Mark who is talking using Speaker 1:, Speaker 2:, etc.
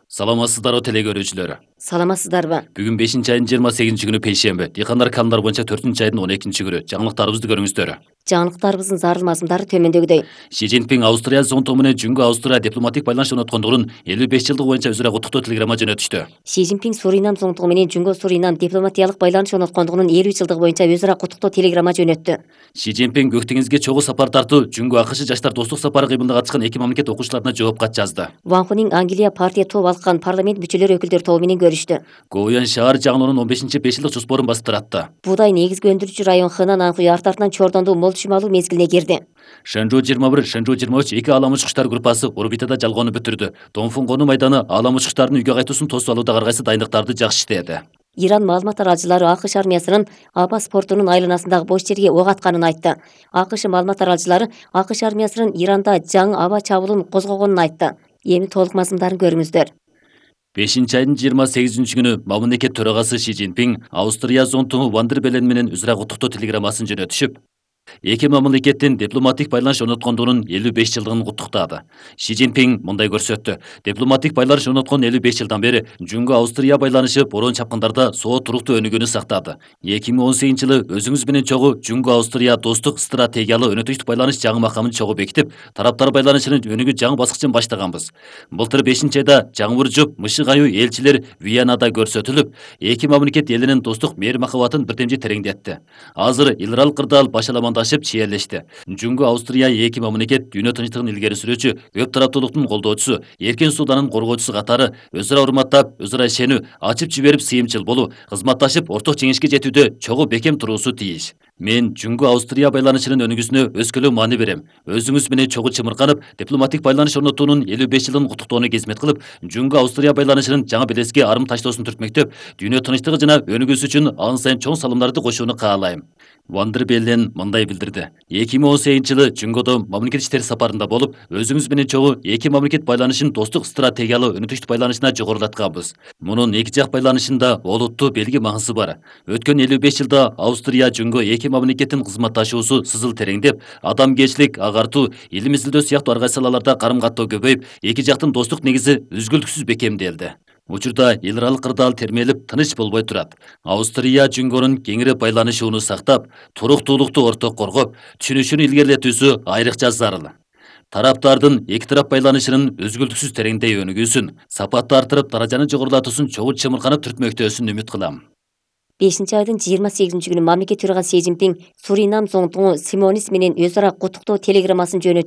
Speaker 1: Саламатсыздарбы теле көрүүчүлөр.
Speaker 2: Саламатсыздарбы?
Speaker 1: Бүгүн 5-айдын 28-күнү пейшемби. Дыйкандар канундар боюнча 4-айдын 12-күнү. Жаңылыктарыбызды көрүңүздөр.
Speaker 2: Жаңылыктарыбыздын зарыл мазмундары төмөндөгүдөй.
Speaker 1: Ши Цзиньпин Австрия зонтугу менен Жүнгө Австрия дипломатик байланыш орноткондугунун 55 жылдыгы боюнча өзүрө куттуктоо телеграмма жөнөтүштү.
Speaker 2: Ши Цзиньпин Суринам зонтугу менен Жүнгө Суринам дипломатиялык байланыш орноткондугунун 50 жылдыгы боюнча өзүрө куттуктоо телеграмма жөнөттү.
Speaker 1: Ши Цзиньпин көк деңизге чогуу сапар тартуу, Жүнгө АКШ жаштар достук сапары кыймылына катышкан эки мамлекет окуучуларына жооп кат жазды.
Speaker 2: Ван Хунин Англия партия топ алкан парламент мүчөлөрү өкүлдөр тобу менен көрүштү.
Speaker 1: Гоуян шаар жаңылоонун 15-5 жылдык жоспорун басып таратты.
Speaker 2: Буудай негизги өндүрүүчү район Хынан Анхүй артынан Чордондуу мол чымалуу мезгилине кирди.
Speaker 1: Шэнжу 21, Шэнжу 23 эки алам учкучтар группасы орбитада жалгоону бүтүрдү. Донфун конуу майданы алам учкучтардын үйгө кайтуусун тосуп алууда ар кайсы дайындыктарды жакшы иштеди.
Speaker 2: Иран маалымат аралчылары АКШ армиясынын Абас портунун айланасындагы бош жерге ок атканын айтты. АКШ маалымат аралчылары АКШ армиясынын Иранда жаңы аба чабуулун козгогонун айтты. Эми толук мазмундарын көрүңүздөр.
Speaker 1: 5-айдын 28-күнү мамлекет төрагасы Ши Цзиньпин Австрия зонтугу Ван дер Беллен менен өзүрө куттуктоо телеграммасын жөнөтүшүп, эки мамлекеттин дипломатик байланыш орноткондугунун 55 жылдыгын куттуктады. Ши Цзиньпин мындай көрсөттү. Дипломатик байланыш орноткон 55 жылдан бери Жүнгө Австрия байланышы бороон чапкындарда соо туруктуу өнүгүүнү сактады. 2018-жылы өзүңүз менен чогуу Жүнгө Австрия достук стратегиялык өнөктүштүк байланыш жаңы макамын чогуу бекитип, тараптар байланышынын өнүгүү жаңы баскычын баштаганбыз. Былтыр 5-айда жаңбыр жууп, мышык аюу элчилер Виенада көрсөтүлүп, эки мамлекет элинин достук мээри махабатын бирдемжи тереңдетти. Азыр эл аралык кырдаал башаламандашып чиерлешти. Жүнгө Австрия эки мамлекет дүйнө тынчтыгын илгери сүрүүчү, өп тараптуулуктун колдоочусу, эркен сууданын коргоочусу катары өзара урматтап, өзара ишенүү, ачып жиберип сыйымчыл болуу, кызматташып орток жеңишке жетүүдө чогуу бекем туруусу тийиш. Мен Жүнгө Австрия байланышынын өнүгүүсүнө өскөлөң маани берем. Өзүңүз менен чогуу чымырканып, дипломатик байланыш орнотуунун 55 жылын куттуктоону кызмет кылып, Жүнгө Австрия байланышынын жаңы белеске арым таштоосун түртмөктөп, дүйнө тынчтыгы жана өнүгүүсү үчүн ан сайын чоң салымдарды кошууну каалайм. Ван дер Беллен мындай билдирди. 2018-жылы Жүнгөдө мамлекет иштери сапарында болуп, өзүңүз менен чогуу эки мамлекет байланышын достук стратегиялык өнөктүштүк байланышына жогорулатканбыз. Мунун эки жак байланышында олуттуу белги маңызы бар. Өткөн 55 жылда Австрия Жүнгө эки мамлекеттин кызматташуусу сызыл тереңдеп, адамгерчилик агартуу, илим изилдөө сыяктуу ар кайсы салаларда карым каттоо көбөйүп, эки жактын достук негизи үзгүлтүксүз бекемделди. Учурда эл аралык кырдаал термелип, тыныч болбой турат. Австрия Жүнгөнүн кеңири байланышууну сактап, туруктуулукту орток коргоп, түшүнүшүн илгерилетүүсү айрыкча зарыл. Тараптардын эки тарап байланышынын үзгүлтүксүз тереңдей өнүгүүсүн, сапатты артырып, даражаны жогорулатуусун чогуу чымырканып түртмөктөөсүн үмүт кылам.
Speaker 2: 5-айдын 28-күнү мамлекет төрагасы Ши Цзиньпин Суринам зонтугу Симонис менен өзара куттуктоо телеграммасын жөнөтүшү